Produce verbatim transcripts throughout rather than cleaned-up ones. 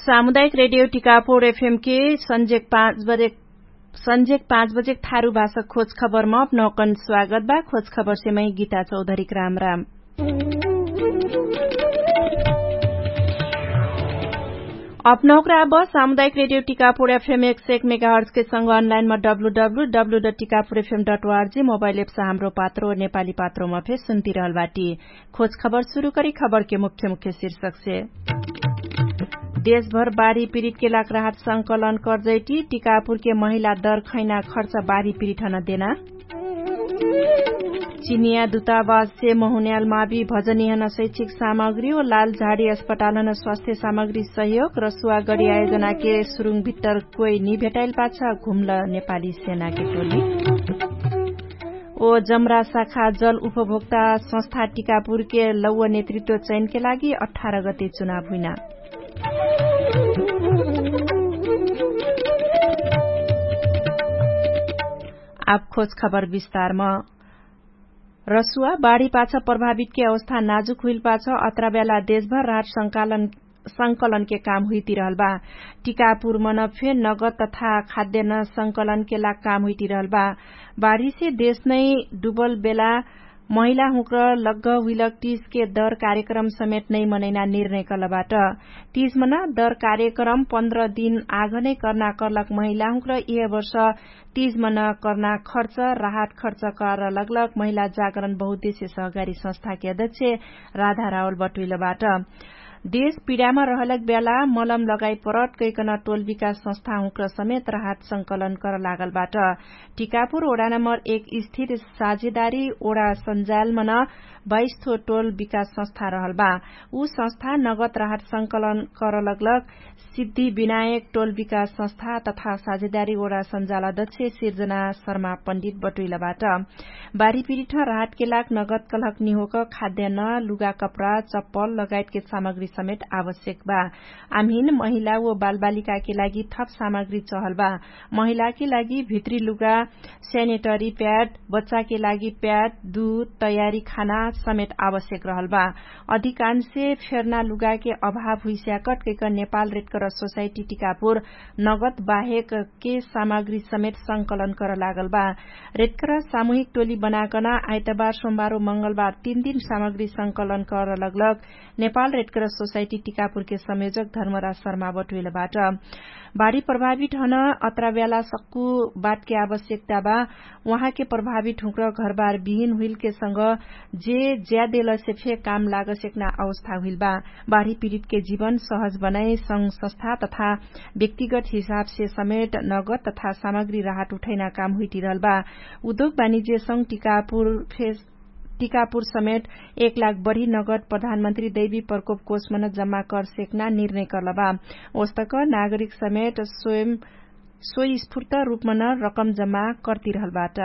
सामुदायिक रेडियो टिकापुर एफएम के सन्जेक पाँच बजे सन्जेक पाँच बजे थारु भाषा खोज खबरमा अपनौकन स्वागत बा। खोज खबर सेमै गीता चौधरीक राम राम। अपनौकरा अब सामुदायिक रेडियो टिकापुर एफएम एक सय एक मेगाहर्जके संग अनलाइनमा W W W dot Tikapur FM dot ORG mobile apps Hamro Patro नेपाली पात्रोमा फेर सुन्तिरहल बाटी। खोज खबर सुरु करी खबरके मुख्य मुख्य शीर्षकसे। देशभर बारी पिरिटके लाग राहत संकलन कर्जैटी टिकापुरके महिला दर खैना खर्च बारी पिरिटहन देना। चिनिया दुतावाससे महुन्याल मावी भजनिहन शैक्षिक सामग्री ओ लाल झाडी अस्पतालहन स्वास्थ्य सामग्री सहयोग र सुवागडी आयोजनाके सुरुङ भित्तर कोइ निभेटाइल पाछ घुम्ल नेपाली सेनाके टोली। ओ जमरा शाखा जल उपभोक्ता संस्था टिकापुरके लौव नेतृत्व चयनके लागि अठार गते चुनाव हुइना। आब खोज खबर विस्तारम। रसुवा बाढी पाछ प्रभावितके अवस्था नाजुक हुइल पाछ अत्राब्याला देशभर राहट संकलनके काम हुइतिरहल बा। टिकापुर मन फे नगद तथा खाद्यन संकलनके लाग काम हुइतिरहल बा। बाढीसे देश नै डुबल बेला महिला हुँक्र लग्ग हुइलक टिजके दर कार्यक्रम समेत नै मनैना निर्णय कलबाट। टिज मन दर कार्यक्रम पन्ध्र दिन आघ नै कर्ना कर्लक महिला हुँक्र यह वर्ष टिज मन कर्ना खर्च राहट खर्च कर लगलक महिला जागरण बहुद्देश्य सहकारी संस्थाके अध्यक्ष राधा रावल बटुइलबाट। देश पिडामा रहलक ब्याला मलम लगाइ परत कैकन टोल विकास संस्था हुँक्र समेत राहट संकलन कर लागलबाट। टिकापुर ओडा नम्बर एक स्थिर साझेदारी ओडा सञ्जालमन बाइस थो टोल विकास संस्था रहल बा। उ संस्था नगद राहट संकलन कर लगलक सिद्धि विनायक टोल विकास संस्था तथा साझेदारी ओडा सञ्जाल अध्यक्ष सिर्जना शर्मा पण्डित बटुइलबाट। बारी पिरिठ राहटके लाग नगद कलहक निहोक खाद्यान्न लुगा कपडा चप्पल लगायतके सामग्री समेत आवश्यक बा। आम्हिन महिला ओ बालबालिकाके लागि थप सामग्री चहल बा। महिलाके लागि भित्री लुगा स्यानेटरी प्याड बच्चाके लागि प्याड दुध तयारी खाना समेत आवश्यक रहल बा। अधिकांशे फेर्ना लुगाके अभाव हुइस्याकट कैक नेपाल रेडकर सोसाइटी टिकापुर नगद बाहेकके सामग्री समेत संकलन कर लागल बा। रेडकर सामुहिक टोली बनाकन आइतबार सोमबार ओ मंगलबार तीन दिन सामग्री संकलन कर लगलक नेपाल रेडकर सोसाइटी टिकापुरके संयोजक धर्मराज शर्मा बटुइलबाट। बाढी प्रभावित हन अत्राब्याला सक्कु बाटके आवश्यकता बा। उहाँके प्रभावित हुँक्र घरबार बिहिन हुइलके संग जे ज्यादेलसे फे काम लागसेक्ना अवस्था हुइल बा। बाढी पिरितके जीवन सहज बनाइ संग संस्था तथा व्यक्तिगत हिसाबसे समेट नगद तथा सामग्री राहट उठैना काम हुइटिरहल बा। उद्योग बानिज्य संग टिकापुर फेस टिकापुर समेट एक लाख बढी नगद प्रधानमन्त्री दैवी प्रकोप कोषमन जम्मा करसेक्ना निर्णय कर्लबा। ओस्तक नागरिक समेट स्वयं स्वयस्फूर्त रूपमन रकम जम्मा कर्तिरहलबाट।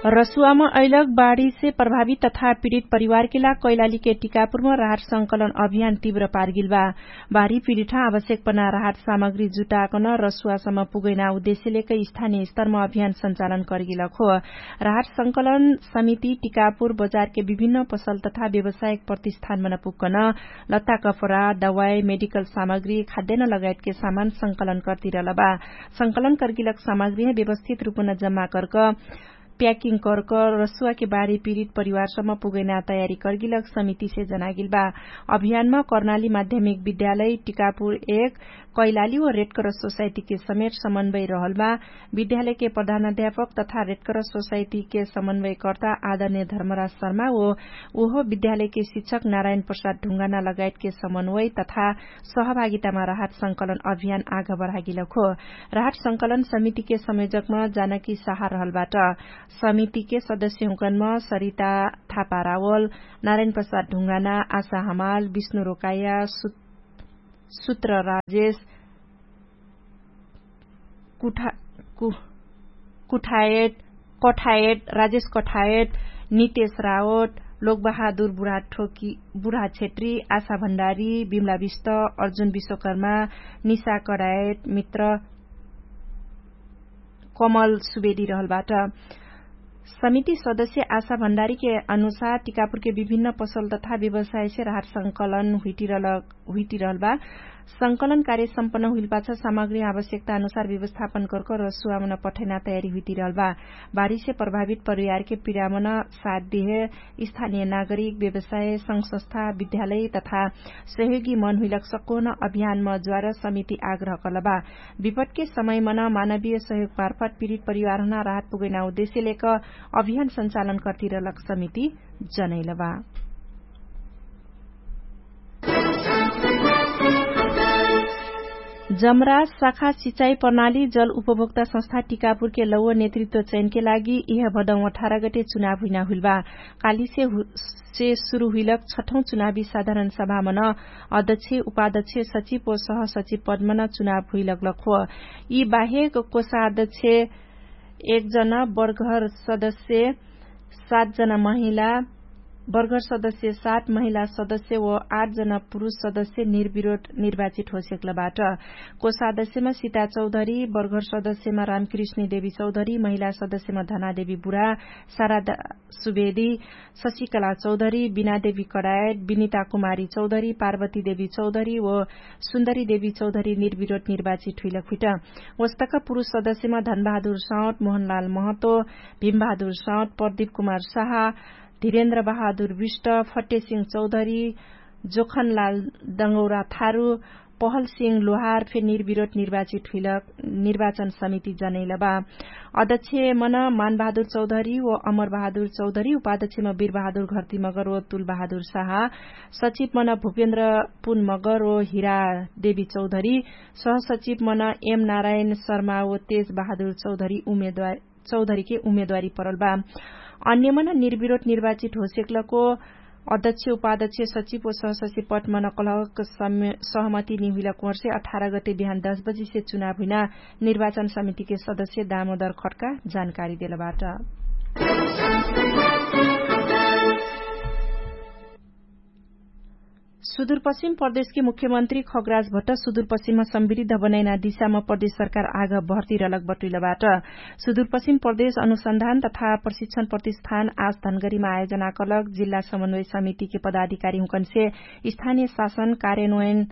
रसुवाम अइलक बाढीसे प्रभावित तथा पिडित परिवारके लाग कैलालीके टिकापुरम राहट संकलन अभियान तिव्र पारगिलबा। बाढी पिडिठा आवश्यकपना राहट सामग्री जुटाकन रसुवासम पुगैना उद्देश्यलेक स्थानीय स्तरम अभियान सञ्चालन कर्गिलक हो। राहट संकलन समिति टिकापुर बजारके विभिन्न पसल तथा व्यवसायक प्रतिष्ठानमन पुग्कन लत्ता कपडा दवाई मेडिकल सामग्री खाद्यन लगायतके सामान संकलन कर्तिरलबा। संकलन कर्गिलक सामग्रीह व्यवस्थित रूपन जम्मा कर्क प्याकिङ कर्क रसुवाके बाढी पिरित परिवारसम पुगैना तयारी कर्गिलक समितिसे जनागिल बा। अभियानमा कर्णाली माध्यमिक विद्यालय टिकापुर एक कैलाली ओ रेडकर सोसाइटीके समेट समन्वय रहल बा। विद्यालयके प्रधानाध्यापक तथा रेडकर सोसाइटीके समन्वयकर्ता आदरणे धर्मराज शर्मा ओ उहो विद्यालयके शिक्षक नारायण प्रसाद ढुङ्गाना लगायतके समन्वय तथा सहभागितामा राहत संकलन अभियान आग बढागिलक हो। राहत संकलन समितिके संयोजकमा जानकी साहा रहलबाट। समितिके सदस्यहुँकनमा सरिता थापारावल नारायण प्रसाद ढुङ्गाना आशा हमाल विष्णु रोकाया सुत्र राजेश कुठायत कठायत राजेश कठायत नितेश रावत लोकबहादुर बुढाछेत्री आशा भण्डारी बिमला विष्ट अर्जुन विश्वकर्मा निशा कडायत मित्र कमल सुवेदी रहलबाट। समिति सदस्य आशा भण्डारीके अनुसार टिकापुरके विभिन्न पसल तथा व्यवसायसे राहत संकलन हुइटिरहल बा। संकलन कार्य सम्पन्न हुइलपाछ सामग्री आवश्यकता अनुसार व्यवस्थापन करक रसुवामन पठैना तयारी हुइटिरहल बा। बारिसे प्रभावित परिवारके पिरामन साथ दिहे स्थानीय नागरिक व्यवसाय संस्था विद्यालय तथा सहयोगी मन हुइलक सक्कोहन अभियानम ज्वार समिति आग्रह कलबा। विपटके समयमन मानवीय सहयोग पार्फट पिरित परिवारहन राहत पुगैना उद्देश्य लेक अभियान संचालन कर्तिरलक समिति जनैलबा। जमरा शाखा सिचाई प्रणाली जल उपभोक्ता संस्था टिकापुरके लौव नेतृत्व चयनके लागि इह भदौं अठार गटे चुनाव हुइना हुइलबा। कालीसे सुरु हुइलक छठौं चुनावी साधारण सभामन अध्यक्ष उपाध्यक्ष सचिव ओ सहसचिव पदमन चुनाव हुइलक लक्ख। यि बाहेक कोषाध्यक्ष एक जन बर्घर सदस्य सात जन महिला बर्घर सदस्य सात महिला सदस्य ओ आठ जन पुरुष सदस्य निर्विरोध निर्वाचित होसेक्लबाट। कोषाध्यक्षमा सिता चौधरी बर्घर सदस्यमा रामकृष्णी देवी चौधरी महिला सदस्यमा धनादेवी बुरा सारा सुवेदी शशिकला चौधरी बिनादेवी कडायत बिनिता कुमारी चौधरी पार्वती देवी चौधरी ओ सुन्दरी देवी चौधरी निर्विरोध निर्वाचित हुइलक हुइट। ओस्तक पुरुष सदस्यमा धनबहादुर साउट मोहनलाल महतो भिमबहादुर साउट प्रदीप कुमार साहा धिरेन्द्र बहादुर विष्ट फट्टे सिंह चौधरी जोखनलाल दङ्गौरा थारु पहल सिंह लोहार फे निर्विरोध निर्वाचित हुइलक निर्वाचन समिति जनैलबा। अध्यक्ष मन मानबहादुर चौधरी ओ अमरबहादुर चौधरी उपाध्यक्षमा वीरबहादुर घर्तिमगर ओ तुलबहादुर साहा सचिव मन भुपेन्द्र पुनमगर ओ हिरा देवी चौधरी सहसचिव मन एम नारायण शर्मा ओ तेजबहादुर चौधरी उमेदवार चौधरीके उमेदवारी परल बा। अन्यमन निर्विरोध निर्वाचित होसेक्लको अध्यक्ष उपाध्यक्ष सचिव ओ सहसचिव पटमन कलहक सहमति निहुइलक वर्षे अठार गते बिहान दस बजिसे चुनाव हुइना निर्वाचन समितिके सदस्य दामोदर खटका जानकारी देलबाट। सुदूरपश्चिम प्रदेशके मुख्यमन्त्री खगराज भट्ट सुदूरपश्चिममा समृद्ध बनैना दिशामा प्रदेश सरकार आग भर्तिरलक बटुइलबाट। सुदूरपश्चिम प्रदेश अनुसन्धान तथा प्रशिक्षण प्रतिष्ठान आज धनगरीमा आयोजना कलक जिल्ला समन्वय समितिके पदाधिकारी हुँकन्से स्थानीय शासन कार्यान्वयन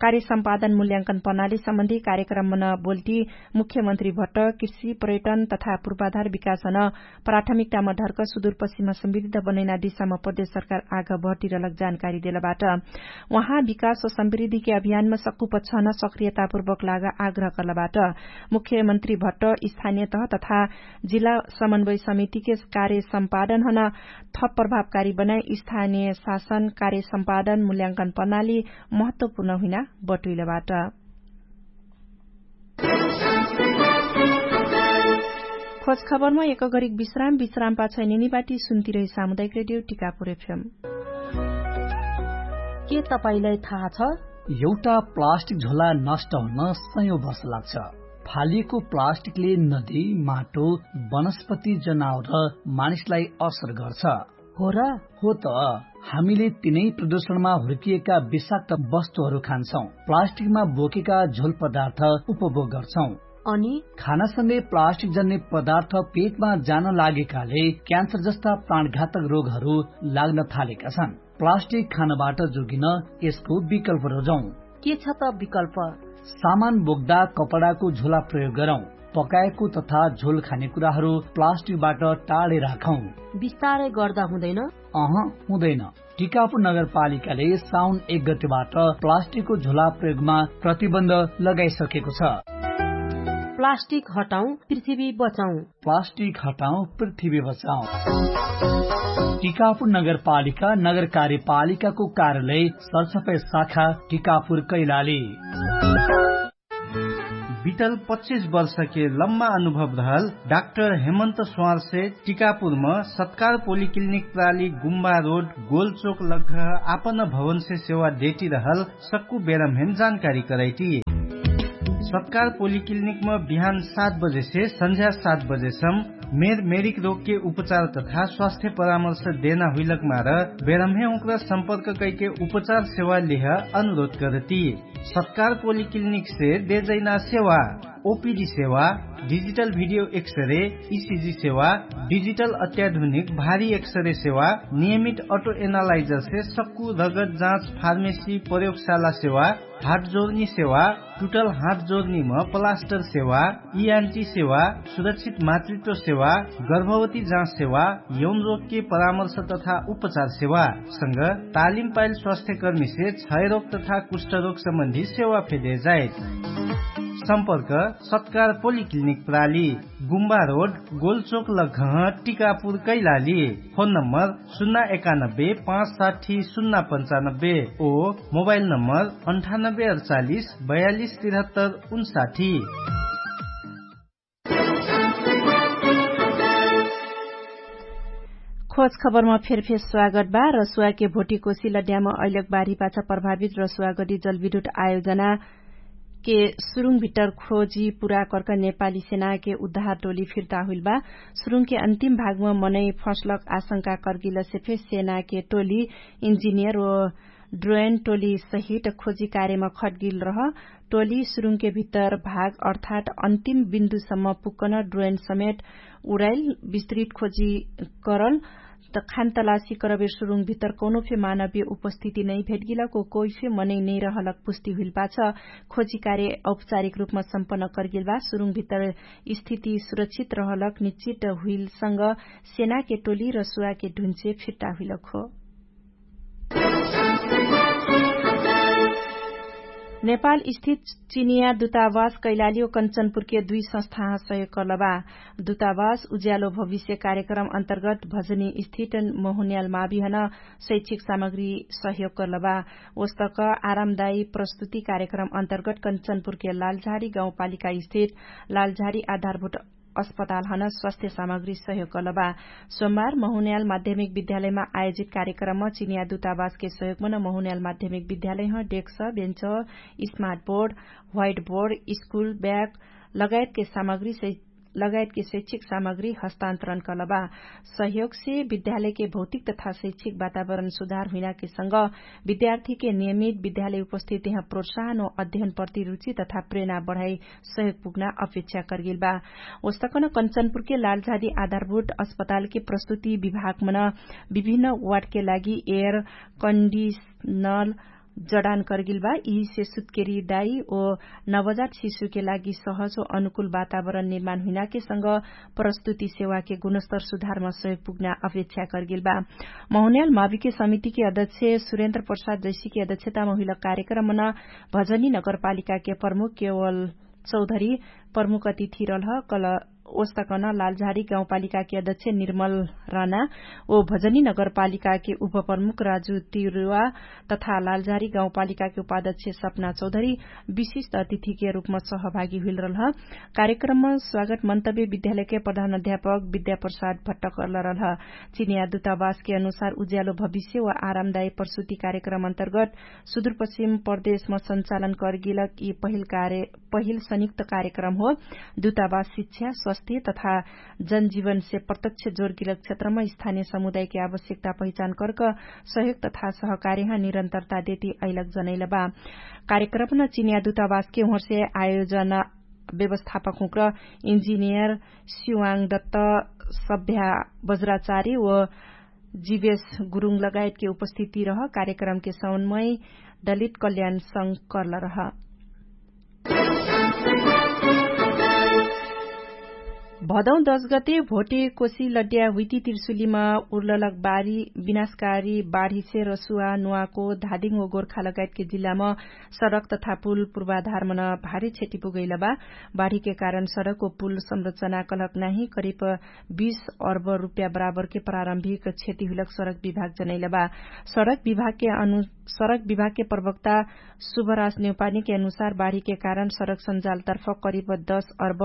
कार्य सम्पादन मूल्यांकन प्रणाली सम्बन्धी कार्यक्रमन बोल्टी मुख्यमन्त्री भट्ट कृषि पर्यटन तथा पूर्वाधार विकासन प्राथमिकतामा ढर्क सुदूरपश्चिममा समृद्ध बनैना दिशामा प्रदेश सरकार आग भर्तिरलक जानकारी देलबाट। उहाँ विकास ओ समृद्धिके अभियानमा सक्कु पक्षहन सक्रियतापूर्वक लाग आग्रह कर्लबाट। मुख्यमन्त्री भट्ट स्थानीय तह तथा जिल्ला समन्वय समितिके कार्य सम्पादनहन थप प्रभावकारी बनाइ स्थानीय शासन कार्य सम्पादन मूल्यांकन प्रणाली महत्वपूर्ण हुइना बटुइलबाट। खोज खबरमा एक गरिक विश्राम विश्राम पाछ निनिबाटी सुन्तिरही सामुदायिक रेडियो टिकापुर एफएम। के तपाईंलाई थाहा छ? एउटा प्लास्टिक झोला नष्ट हुन सयौं वर्ष लाग्छ। फालिएको प्लास्टिकले नदी, माटो, वनस्पति, जनावर र मानिसलाई असर गर्छ। हो र? हो त। हामीले तिनै प्रदूषणमा हुर्किएका विषाक्त वस्तुहरू खान्छौं, प्लास्टिकमा बोकेका झोल पदार्थ उपभोग गर्छौं। अनि खानासँगै प्लास्टिक जन्ने पदार्थ पेटमा जान लागेकाले क्यान्सर जस्ता प्राणघातक रोगहरू लाग्न थालेका छन्। प्लास्टिक खानबाट जोगिन यसको विकल्प रोजौं। के छ त विकल्प? सामान बोक्दा कपडाको झोला प्रयोग गरौं। पकाएको तथा झोल खाने कुराहरू प्लास्टिकबाट टाढे राखौं। बिस्तारै गर्दा हुँदैन? अह, हुँदैन। टिकापुर नगरपालिकाले साउन एक गतेबाट प्लास्टिकको झोला प्रयोगमा प्रतिबन्ध लगाइसकेको छ। प्लास्टिक हटाउँ, पृथ्वी बचाउँ। प्लास्टिक हटाउँ, पृथ्वी बचाउँ। टिकापुर नगरपालिका नगर कार्यपालिकाको कार्यालय सरसफाइ शाखा टिकापुर कैलाली। बितल पच्चिस वर्षके लम्बा अनुभव रहल डाक्टर हेमन्त स्वारसे टिकापुरम सत्कार पोलिक्लिनिक प्राली गुम्बा रोड गोलचोक लग्घ आपन भवनसे सेवा देटिरहल सक्कु बेरम्हेम जानकारी करैटी। सत्कार पोलिक्लिनिकम बिहान सात बजेसे सन्झ्या सात बजेसम मेर मेरिक रोगके उपचार तथा स्वास्थ्य परामर्श देना हुइलक मार बेरम्हे उक्रा सम्पर्क कैके उपचार सेवा लिह अनुरोध करती। सत्कार पोलिक्लिनिकसे देजैना सेवा। ओपिडी सेवा, डिजिटल भिडियो एक्सरे, इसिजी सेवा, डिजिटल अत्याधुनिक भारी एक्सरे सेवा, नियमित अटो एनालाइजर से सक्कु रगत जाँच फार्मेसी प्रयोगशाला सेवा, हात जोर्नी सेवा, टुटल हात जोर्नीम प्लास्टर सेवा, इआन्टी सेवा, सुरक्षित मातृत्व सेवा, गर्भवती जाँच सेवा, यौन रोगके परामर्श तथा उपचार सेवा, संग तालिम पाइल स्वास्थ्यकर्मीसे क्षयरोग तथा कुष्ठरोग सम्बन्धी सेवा फेदे जाइत। सम्पर्क सत्कार पोलिक्लिनिक प्राली, गुम्बा रोड, गोलचोक लग्घह, टिकापुर कैलाली। फोन नम्बर सुन्ना एकानब्बे पाँच साठी सुन्ना पन्चानब्बे। ओ मोबाइल नम्बर अन्ठानब्बे अडचालिस बयालिस तिरहत्तर उन्साठी। खोज खबरमा फेरफेर स्वागत बा। रसुवाके भोटी कोसी लड्यामा अइलक बारी पाछा प्रभावित रसुवागडी जलविद्युत आयोजना के सुरुङ भित्तर खोजी पुरा कर्क नेपाली सेनाके उद्धार टोली फिर्ता हुइल बा। सुरुङके अन्तिम भागमा मनै फसलक आशंका कर्गिलसे फे सेनाके टोली इन्जिनियर ओ ड्रोयन टोली सहित खोजी कार्यमा खट्गिल रह। टोली सुरुङके भित्तर भाग अर्थात अन्तिम बिन्दुसम्म पुक्कन ड्रोयन समेत उडाइल विस्तृत खोजी करल। त खान तलासी करबे सुरुङ भित्तर कौनो फे मानवीय उपस्थिति नै भेटगिलक ओ कोइफे मनै नै रहलक पुस्ति हुइल पाछ खोजी कार्य औपचारिक रूपमा सम्पन्न कर्गिल बा। सुरुङ भित्तर स्थिति सुरक्षित रहलक निश्चित हुइलसँग सेनाके टोली र सुवाके ढुन्चे फिर्ता हुइलक हो। नेपाल स्थित चिनिया दुतावास कैलाली ओ कन्चनपुरके दुई संस्थाह सहयोग कर्लबा। दुतावास उज्यालो भविष्य कार्यक्रम अन्तर्गत भजनी स्थित महुन्याल माविहन शैक्षिक सामग्री सहयोग कर्लबा। ओस्तक आरामदायी प्रस्तुति कार्यक्रम अन्तर्गत कन्चनपुरके लालझारी गाउँपालिका स्थित लालझारी आधारभूत अस्पतालहन स्वास्थ्य सामग्री सहयोग कर्लबा। सोमबार महुन्याल माध्यमिक विद्यालयमा आयोजित कार्यक्रममा चिनिया दुतावासके सहयोगमन महुन्याल माध्यमिक विद्यालयह desks bench smart board white board school bag लगायतके सामग्री लगायतके शैक्षिक सामग्री हस्तान्तरण कर्लबा। सहयोगसे विद्यालयके भौतिक तथा शैक्षिक वातावरण सुधार हुइनाके संग विद्यार्थीके नियमित विद्यालय उपस्थितिह प्रोत्साहन ओ अध्ययन प्रति रुचि तथा प्रेरणा बढाइ सहयोग पुग्ना अपेक्षा कर्गिल बा। ओस्तकन कन्चनपुरके लालझारी आधारभूत अस्पतालके प्रस्तुति विभागमन विभिन्न वार्डके लागि एयर कन्डिसनल जडान कर्गिल बा। यिहिसे सुत्केरी दाई ओ नवजात शिशुके लागि सहज ओ अनुकूल वातावरण निर्माण हुइनाके संग प्रस्तुति सेवाके गुणस्तर सुधारमा सहयोग पुग्ना अपेक्षा कर्गिल बा। महुन्याल माविके समितिके अध्यक्ष सुरेन्द्र प्रसाद जैसीके अध्यक्षतामा हुइल कार्यक्रमन भजनी नगरपालिकाके प्रमुख केवल चौधरी प्रमुख अतिथि रलह कल ओस्तकन लालझारी गाउँपालिकाके अध्यक्ष निर्मल राना ओ भजनी नगरपालिकाके उपप्रमुख राजु तिरुवा तथा लालझारी गाउँपालिकाके उपाध्यक्ष सपना चौधरी विशिष्ट अतिथिके रूपमा सहभागी हुइल रलह। कार्यक्रममा स्वागत मन्तव्य विद्यालयके प्रधान अध्यापक विद्याप्रसाद भट्टकर्ल रलह। चिनिया दुतावासके अनुसार उज्यालो भविष्य वा आरामदायी प्रसुति कार्यक्रम अन्तर्गत सुदुरपश्चिम प्रदेशमा सञ्चालन कर्गिलक यि पहिल कार्य पहिल संयुक्त कार्यक्रम हो। दुतावास शिक्षा स्वास्थ्य तथा जनजीवनसे प्रत्यक्ष जोरगिलक क्षेत्रमा स्थानीय समुदायके आवश्यकता पहिचान कर्क सहयोग तथा सहकार्यह निरन्तरता देती अइलक जनैलबा। कार्यक्रमन चिनिया दुतावासके उहरसे आयोजना व्यवस्थापक हुँक्र इन्जिनियर सिवाङ दत्त सभ्या बज्राचारी व जिवेश गुरुङ लगायतके उपस्थिति रह कार्यक्रमके सौनमय दलित कल्याण संग कर्ल रह। भदौ दश गते भोटे कोसी लड्या हुइती तिर्सुलीमा उर्ललक बारी विनाशकारी बाढीसे रसुवा नुवाको धादिङ ओ गोर्खा लगायतके जिल्लामा सडक तथा पुल पूर्वाधारमन भारी क्षति पुगैलबा। बाढीके कारण सडक ओ पुल संरचना कलक नाही करिब बीस अर्ब रुप्या बराबरके प्रारम्भिक क्षति हुइलक सडक विभाग जनैलबा। सडक विभागके अनु सडक विभागके प्रवक्ता शुभराज नेउपानीके अनुसार बाढीके कारण सडक सञ्जालतर्फ करिब दश अर्ब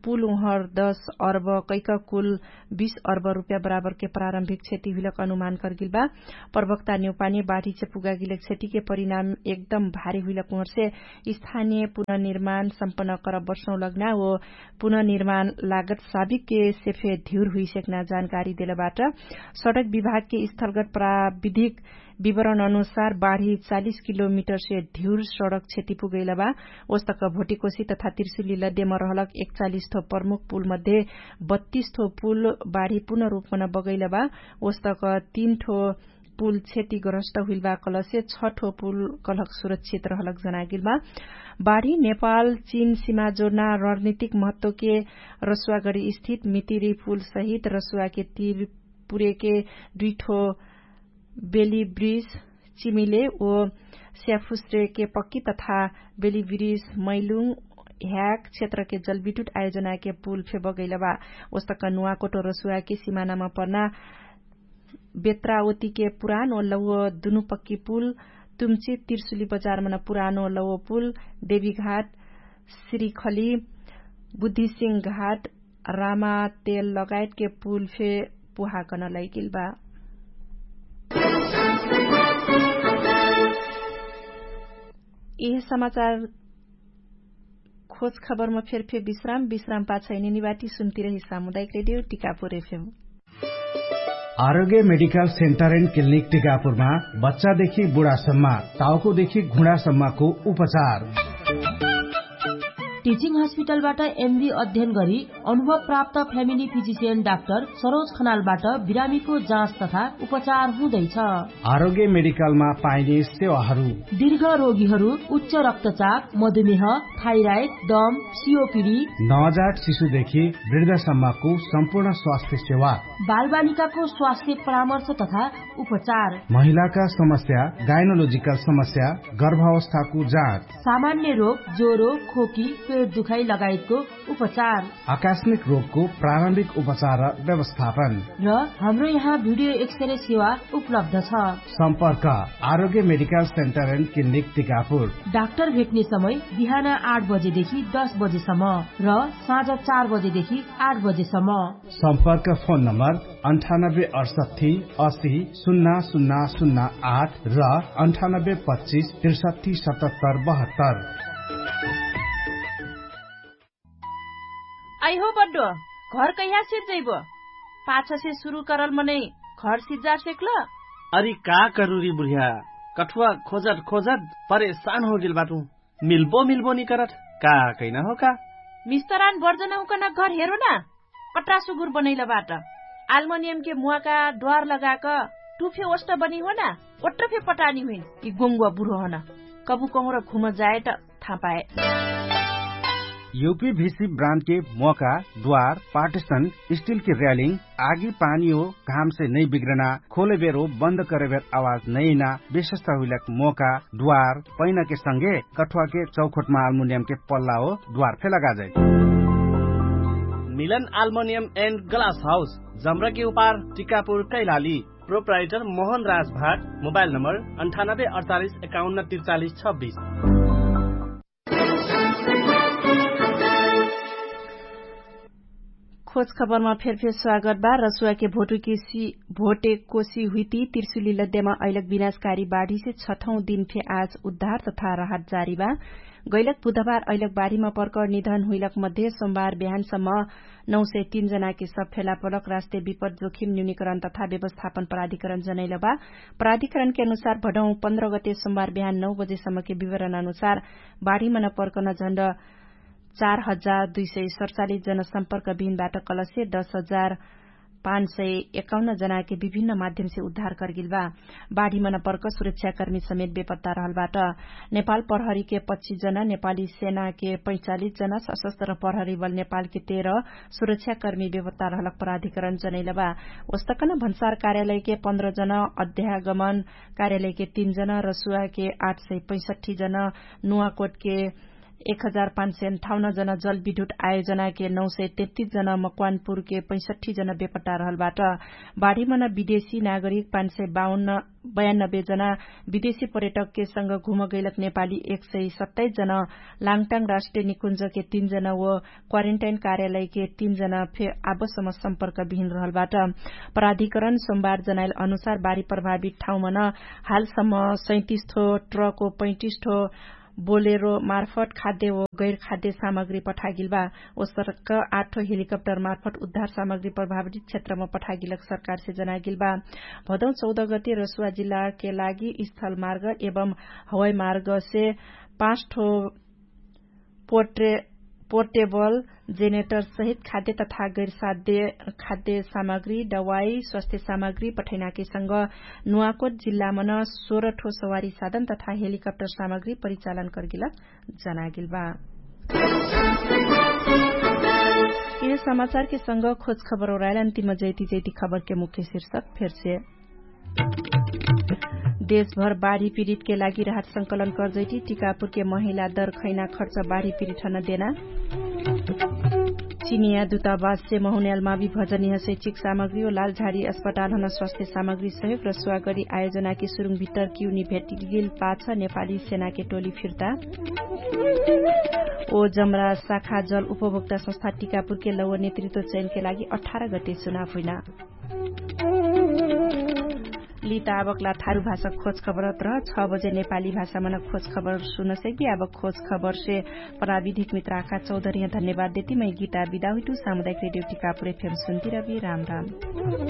पुल उहर दश अर्ब कैक कुल बीस अर्ब रुप्या बराबरके प्रारम्भिक क्षति हुइलक अनुमान कर्गिलबा। प्रवक्ता नेउपानी बाढीसे पुगागिलक क्षतिके परिणाम एकदम भारी हुइलक उहरसे स्थानीय पुननिर्माण सम्पन्न करब वर्षौँ लग्ना ओ पुननिर्माण लागत साबिकके सेफे धिउर हुइसेक्ना जानकारी देलबाट। सडक विभागके स्थलगत प्राविधिक विवरण अनुसार बाढी चालिस किलोमिटरसे धिउर सडक क्षति पुगैलबा। ओस्तक भोटिकोसी तथा तिर्सुली लद्यम रहलक एकचालिस ठो प्रमुख पुलमध्ये बत्तिस ठो पुल बाढी पुनरुपमन बगैलबा। ओस्तक तीन ठो पुल क्षति ग्रहस्त हुइलबा कलसे छ ठो पुल कलहक सुरक्षित रहलक जनागिलबा। बाढी नेपाल चिन सिमा जोर्ना रणनितिक महत्वके रसुवागढी स्थित मितिरी पुल सहित रसुवाके तीर पुरेके दुइ ठो बेली ब्रिज चिमिले ओ स्याफुस्रेके पक्की तथा बेली ब्रिज मैलुङ ह्याक क्षेत्रके जलविद्युत आयोजनाके पुल फेबगैलबा। ओस्तक नुवाकोटो रसुवाके सिमानामा पर्ना बेत्रावतीके पुरानो लौव दुनु पक्की पुल, तुमचित तिर्सुली बजारमन पुरानो लौव पुल, देवीघाट, श्रीखली, बुद्धिसिंह घाट, रामा तेल लगायतके पुल फे पुहाकन लैगेल बा। यह समाचार खोज खबरमा फेरफे विश्राम विश्राम पाछैने निवाटी सुन्तिरही सामुदायिक रेडियो टिकापुर एफएम। आरोग्य मेडिकल सेन्टर एन्ड क्लिनिक टिकापुरमा बच्चादेखि बुढासम्म, टाउकोदेखि घुँडासम्मको उपचार। टिचिङ हस्पिटलबाट एमडी अध्ययन गरी अनुभव प्राप्त फ्यामिली फिजिसियन डाक्टर सरोज खनालबाट बिरामीको जाँच तथा उपचार हुँदैछ। आरोग्य मेडिकलमा पाइने सेवाहरू। दीर्घ रोगीहरू, उच्च रक्तचाप, मधुमेह, थाइराइड, दम, सिओपिडी, नवजात शिशुदेखि वृद्धसम्मको सम्पूर्ण स्वास्थ्य सेवा। बालबालिकाको स्वास्थ्य परामर्श तथा उपचार। महिलाका समस्या, गाइनोलोजिकल समस्या, गर्भावस्थाको जाँच। सामान्य रोग, ज्वरो, खोकी, पेट दुखाइ लगायतको उपचार। आकस्मिक रोगको प्रारम्भिक उपचार र व्यवस्थापन। र हाम्रो यहाँ भिडियो एक्सरे सेवा उपलब्ध छ। सम्पर्क आरोग्य medical centre and clinic Tikapur. Doctor भेट्ने समय बिहान आठ बजेदेखि दस बजेसम्म र साँझ चार बजेदेखि आठ बजेसम्म। सम्पर्क फोन नम्बर अन्ठानब्बे अठसट्ठी असी सुन्ना सुन्ना सुन्ना आठ र अन्ठानब्बे पच्चिस त्रिसट्ठी सतहत्तर बहत्तर। आइहो बड्डो, घर कैहा सिज्जैबो? पाछसे सुरु करल मनै घर सिज्जार सेक्ल? अरि का करुरी बुढिया, कठुवा खोजत खोजत परेशान होगेल बाटु। मिल्बो मिल्बो निकरत, का कैना हो का? मिस्तरान बर्जन हुकन घर हेरो ना। कट्रा सुगुर बनैल बाट। आल्मोनियमके मुवाका द्वार लगाक टुफे ओष्ट बनी हो ना। ओट्ट फे पटानी हुइन। यि गोङ्गुवा बुढो हन। कबु कहुँर घुम जाए त थापाए। युपी भिसी ब्रान्डके मोका, द्वार, पार्टिसन, स्टिलके र्यालिङ, आगी पानी हो, घामसे नै बिग्रना, खोलेबेर हो बन्द करेबेर आवाज नैना, विशेषता हुइलक मोका, द्वार, पैनाके संगे कठुवाके चौखोटमा आल्मुनियमके पल्ला हो, द्वार फे लगाजै। मिलन आल्मुनियम एन्ड ग्लास हाउस, जम्रके उपार, टिकापुर कैलाली। प्रोप्राइटर मोहन राज भाट। मोबाइल नम्बर अन्ठानब्बे अडचालिस एकाउन्न त्रिचालिस छब्बिस। खोज खबरमा फेरफेर स्वागत बा। रसुवाके भोटुकी भोटेकोसी हुइती तिर्सुली लद्यामा अइलक विनाशकारी बाढीसे छठौं दिनफे आज उद्धार तथा राहत जारी बा। गैलक बुधबार अइलक बाढीमा पर्कर निधन हुइलक मध्ये सोमबार बिहानसम्म नौ सय तीन जनाके सब फेला पलक राष्ट्रिय विपद जोखिम न्यूनिकरण तथा व्यवस्थापन प्राधिकरण जनैलबा। प्राधिकरणके अनुसार भडौं पन्ध्र गते सोमबार बिहान नौ बजेसम्मके विवरण अनुसार बाढीमन पर्कन झण्ड चार हजार दुई सय सडचालिस जनसम्पर्क बिहिनबाट कलसे दस हजार पाँच सय एकाउन्न जनाके विभिन्न माध्यमसे उद्धार करगेल बा। बाढीमन पर्क सुरक्षाकर्मी समेत बेपत्ता रहलबाट नेपाल प्रहरीके पच्चिस जना, नेपाली सेनाके पैँचालिस जना, सशस्त्र प्रहरी बल नेपालके तेह्र, सुरक्षाकर्मी बेपत्ता रहलक प्राधिकरण जनैलबा। ओस्तकन भन्सार कार्यालयके पन्ध्र जना, अध्यागमन कार्यालयके तीन जना, रसुवाके आठ सय पैँसठ्ठी जना, नुवाकोटके एक हजार पाँच सय अन्ठाउन्न जना, जलविद्युत आयोजनाके नौ सय तेत्तिस जना, मकवानपुरके पैँसठ्ठी जना बेपट्टा रहलबाट। बाढीमन विदेशी नागरिक पाँच सय बाउन्न बयानब्बे जना, विदेशी पर्यटकके संग घुमगैलक नेपाली एक सय सत्ताइस जना, लाङटाङ राष्ट्रिय निकुञ्जके तीन जना, व क्वारेन्टाइन कार्यालयके तीन जना फे आबसम सम्पर्क बिहिन रहलबाट। प्राधिकरण सोमबार जनाइल अनुसार बाढी प्रभावित ठाउँमन हालसम्म सैतिस ठो ट्रक व पैँतिस ठो बोलेरो मार्फट खाद्य व गैर खाद्य सामग्री पठागेल बा। ओसर्क आठो हेलिकप्टर मार्फट उद्धार सामग्री प्रभावित क्षेत्रमा पठागेलक सरकारसे जनागेल बा। भदौ चौध गति रसुवा जिल्लाके लागि स्थल मार्ग एवं हवाई मार्गसे पाँच ठो पोर्टेबल जेनेटर सहित खाद्य तथा गैरसाध्य खाद्य सामग्री दवाई स्वास्थ्य सामग्री पठैनाके संग नुवाकोट जिल्लामन सोह्र ठो सवारी साधन तथा हेलिकप्टर सामग्री परिचालन कर्गेल जनागेल बा। यह समाचारके संग खोज खबर ओरायल अन्तिम जैती जैती खबरके मुख्य शीर्षक फेरसे। देशभर बाढी पीडितके लागि राहत संकलन कर्जैटी टिकापुरके महिला दर खैना खर्च बाढी पीडित हन देना। चिनिया दुतावाससे महुन्यालमा विभजनीह शैक्षिक सामग्री ओ लालझाडी अस्पताल हन स्वास्थ्य सामग्री सहयोग र स्वागरी आयोजनाके सुरुङ भित्तर किउनी भेटिगेल पाछ नेपाली सेनाके टोली फिर्ता। ओ जमरा शाखा जल उपभोक्ता संस्था टिकापुरके लौव नेतृत्व चयनके लागि अठार गते चुनाव हुइना। लिता आबकला थारु भाषा खोज खबरत रह छ बजे नेपाली भाषामन खोज खबर सुनसैकी आबक खोज खबरसे प्राविधिक मित्राका चौधरिह धन्यवाद देती मै गीता बिदा हुइटु सामुदायिक रेडियो टिकापुर एफएम सुन्ती रबी राम राम।